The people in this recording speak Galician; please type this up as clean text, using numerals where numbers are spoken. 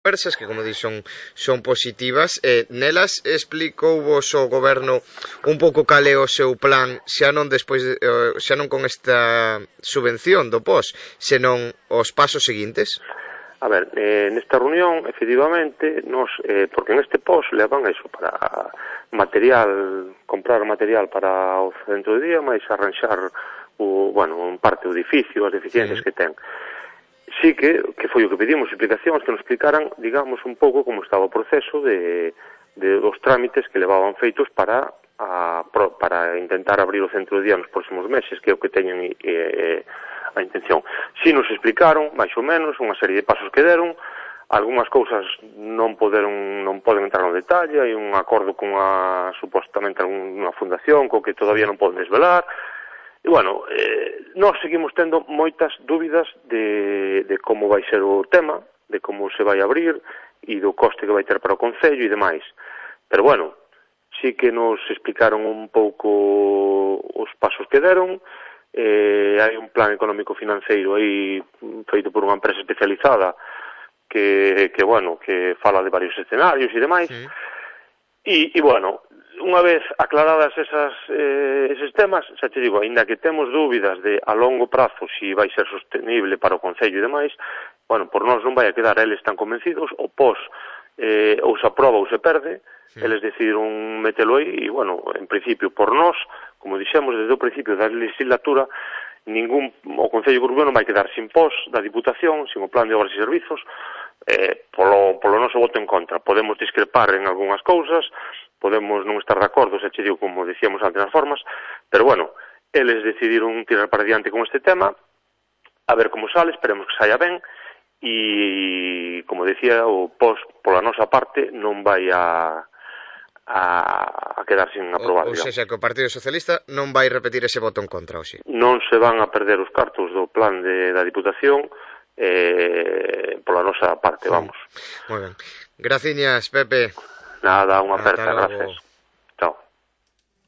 conversas que, como dixo, son positivas. Nelas explicou vos o goberno un pouco cal é o seu plan, xa non con esta subvención do POS, senón os pasos seguintes? A ver, nesta reunión, efectivamente, porque en este POS levan eso para comprar material para o centro de día, máis arranxar en parte o edificio, as deficiencias que ten. Sí que foi o que pedimos explicacións, que nos explicaran, digamos, un pouco como estaba o proceso dos trámites que levaban feitos para intentar abrir o centro de día nos próximos meses, que é o que teñen a intención. Si nos explicaron, máis ou menos, unha serie de pasos que deron, algunhas cousas non poden entrar no detalle, hai un acordo con supostamente unha fundación co que todavía non poden desvelar. E, bueno, nós seguimos tendo moitas dúbidas de como vai ser o tema, de como se vai abrir e do coste que vai ter para o Concello e demais. Pero, bueno, sí que nos explicaron un pouco os pasos que deron. Hai un plan económico financeiro aí feito por unha empresa especializada que fala de varios escenarios e demais. E, bueno, unha vez aclaradas eses temas, xa te digo, aínda que temos dúbidas de a longo prazo si vai ser sostenible para o Concello e demais, bueno, por nós non vai a quedar, eles están convencidos, o POS ou se aproba ou se perde, eles decidiron metelo aí, e, bueno, en principio, por nós, como dixemos desde o principio da legislatura, o Concello de Burbio non vai quedar sin POS da Diputación, sin o Plan de Obras e Servizos, polo noso voto en contra. Podemos discrepar en algunhas cousas, podemos non estar de acordo, xa che digo, como dicíamos antes nas formas, pero, bueno, eles decidiron tirar para diante con este tema, a ver como sale, esperemos que saia ben, e, como decía, o POS, pola nosa parte, non vai a quedar sin aprobar. Ou seja, que o Partido Socialista non vai repetir ese voto en contra, hoxe. Non se van a perder os cartos do plan da Diputación pola nosa parte, vamos. Moi ben. Graciñas, Pepe. Nada, unha aperta, gracias.